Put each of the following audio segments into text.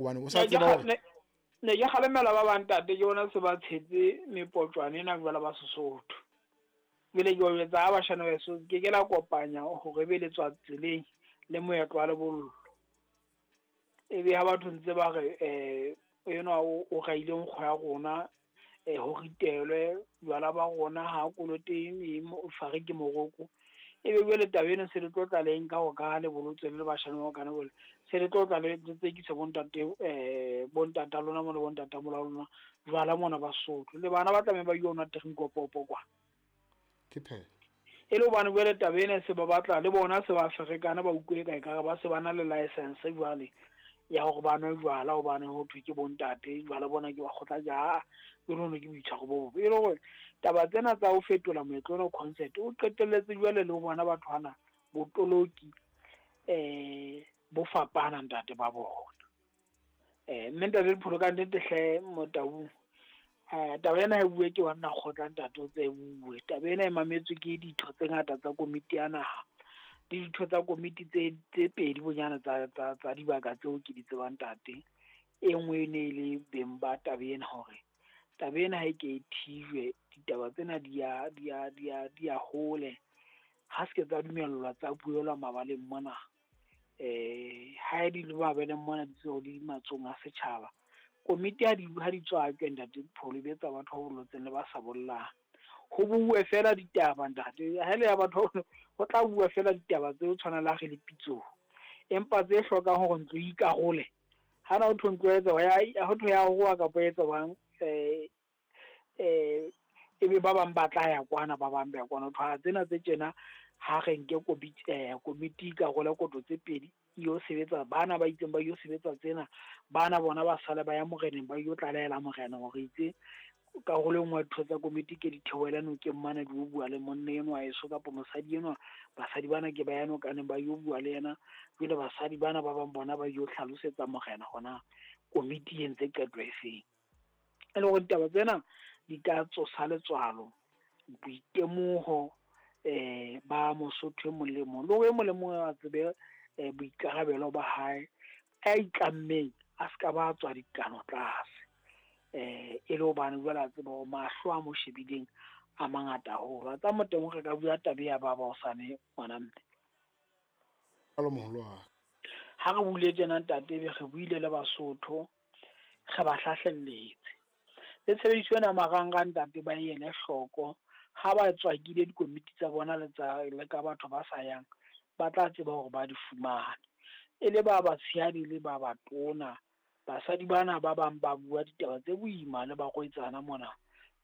Hobane o sa tseba hore Ne ke kgalemela ba bang ntate, ke bona se ba tshetse mepotjwane ena jwale ba Sesotho. Jwale ke ba jwetsa ha bashana ba heso ke ke la kopanya hore ebe le tswa tseleng le moetlo wa lebollo. Ebe ha batho ntse ba re enwa o raile nkgo ya rona, ho ritelwe jwala ba rona ha kolote eng fare ke moroko. Ebe jwale taba ena se le tlo tla le nka hore ka ha le bolotswe le le bashana ba kana jwale se le tlo tla le tsekisa bo ntate bo ntata lona mo le bo ntata mola lona jwala mona ba Sesotho. Le bana ba tlameha ba yo nwa terinkopopo kwa. Ke phela. E le hobane jwale taba ena se ba batla le bona se ba ferekana ba utlwe ka ekare ba se ba na le license jwale ya hore ba nwe jwala hobane ho thwe ke bontate jwala bona ke ba kgotla ja jwale ono ke boitshwaro bo bobe. E le hore taba tsena tsa ho fetola moetlo ona concert o qetelletse jwale le ho bona batho bana botoloki bo fapana ntate ba bona. Mme ntate Dipholo ka nnete hle Motaung, taba ena e bue ke wanna kgotla ntate o tse bue. Taba ena e mametswe ke ditho tse ngata tsa komiti ya naha le ditho tsa komiti tse pedi bonyane tsa dibaka tseo ke di tsebang ntate. E nngwe e ne e le beng ba taba ena hore taba ena ha e ke e thijwe, ditaba tsena di ya hole. Ha se ke tsa dumellwa tsa buelwa mabaleng mona. Ha di le mabaleng mona di tseo di matsohong a setjhaba. Komiti ha di tswakwe ntate Dipholo, e betsa batho ba bolotseng le ba sa bollang. Ho bue fela ditaba ntate, ha le ya batho ho tla bua fela ditaba tse tshwanang le ha re le pitsong. Empa tse hlokang hore ntlo e ikarole. Ha na ho thwe ntlo e etsa ya ho thwe ya roa kapa e etsa jwang, ebe ba bang ba tla ya kwana, ba bang ba ya kwana. Ho thwe tsena tse tjena ha re nke komiti ikarole koto tse pedi yo sebetsa bana ba itseng ba yo sebetsa tsena, bana bona ba sale ba ya moreneng ba yo tlalehela morena hore itse karolo e nngwe ya ditho tsa komiti ke di theohele nokeng mane di yo bua le monna enwa heso kapa mosadi enwa. Basadi bana ke ba ya nokaneng ba yo bua le yena. Jwale basadi bana ba bang bona ba yo hlalosetsa morena hona komiti e entse qeto e feng. E le hore ditaba tsena di ka tsosa letswalo, boitemoho ba Mosotho e mong le mong. Le hore e mong le mong a tsebe boikarabelo ba hae, a itlammeng a ska ba tswa dikano tlase. E le hobane jwale a tseba hore mahlo a mo shebileng a mangata haholo. A tsa Motaung re ka bua taba ya ba hosane ngwana mme. Alo moholo wa. Ha re buile tjena ntate, ebe re buile le Basotho, re ba hlahlelletse. Le tshebediso ena marangrang ntate ba ele hloko. Ha ba tswakile dikomiti tsa bona le tsa le ka batho ba sa yang, ba tla tseba hore ba di fumane. E le ba batshehadi le ba batona, basadi bana ba bang ba bua ditaba tse boima le barwetsana mona.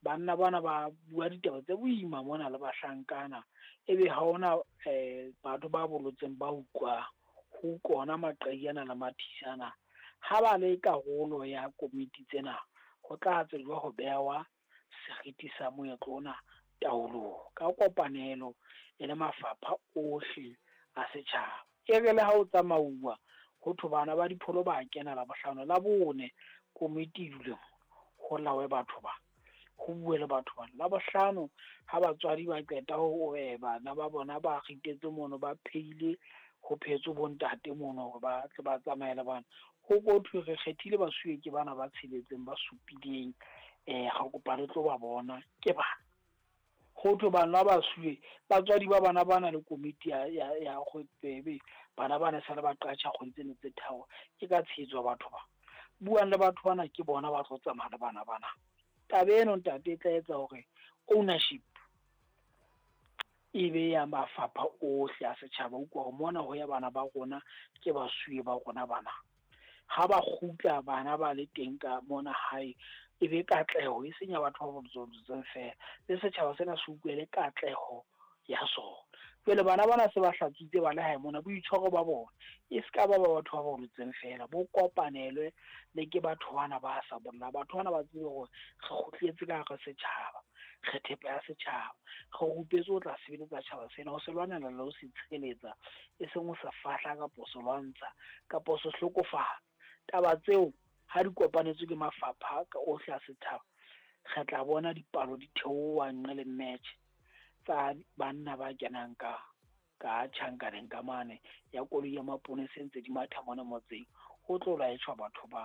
Banna bana ba bua ditaba tse boima mona le bahlankana. Ebe ha hona batho ba bolotseng ba utlwang. Ho kona maqai ana le mathisana. Ha ba le karolo ya komiti tsena, ho tla tsejwa ho bewa seriti sa moetlo ona taolong ka kopanelo e le mafapha ohle a setjhaba. E re le ha o tsamauwa ho thwe bana ba Dipholo ba kena Labohlano, Labone komiti e dule ho lawe batho ba, ho bue le batho ba. Labohlano ha batswadi ba qeta ho bana ba bona ba ritetse mono, ba pheile, ho phetswe bo ntate mono hore ba tle ba tsamaye le bana. Ho ko thwe re kgethile basuwe ke bana ba tsheletseng ba supileng, re kopa le tlo ba bona ke bana. Ho thwe bana ba basuwe, batswadi ba bana ba na le komiti ya kgwebe, bana ba ne sale ba qatjha kgwedi tsena tse tharo, ke ka tshehetso ya batho ba. Buang le batho bana ke bona ba tlo tsamaya le bana bana. Taba eno ntate e tla etsa hore ownership e be ya mafapha ohle a setjhaba. Utlwa hore mona ho ya bana ba rona ke basuwe ba rona bana. Ha ba kgutla bana ba le teng ka mona hae, e be katleho e seng ya batho ba bolotseng fela. Le setjhaba sena se utlwele katleho ya sona. Jwale bana bana se ba hlatswitse ba le hae mona, boitshwaro ba bona e ska ba ba batho ba bolotseng fela, bo kopanelwe le ke batho bana ba sa bollang. Batho bana ba tsebe hore re kgutletse ka hara setjhaba, re thepa ya setjhaba, re rupetswe ho tla sebeletsa tjhaba sena, ho se lwanela le ho se tshireletsa, e seng ho se fahla kapa ho se lwantsha kapa ho se hlokofatsa. Taba tseo ha di kopanetswe ke mafapha ohle a setjhaba, re tla bona dipalo di theoha nqe le match tsa banna ba kenang ka tjhankaneng ka mane ya koloi ya maponesa ntse di matha mona motseng. Ho tlo laetjhwa batho ba.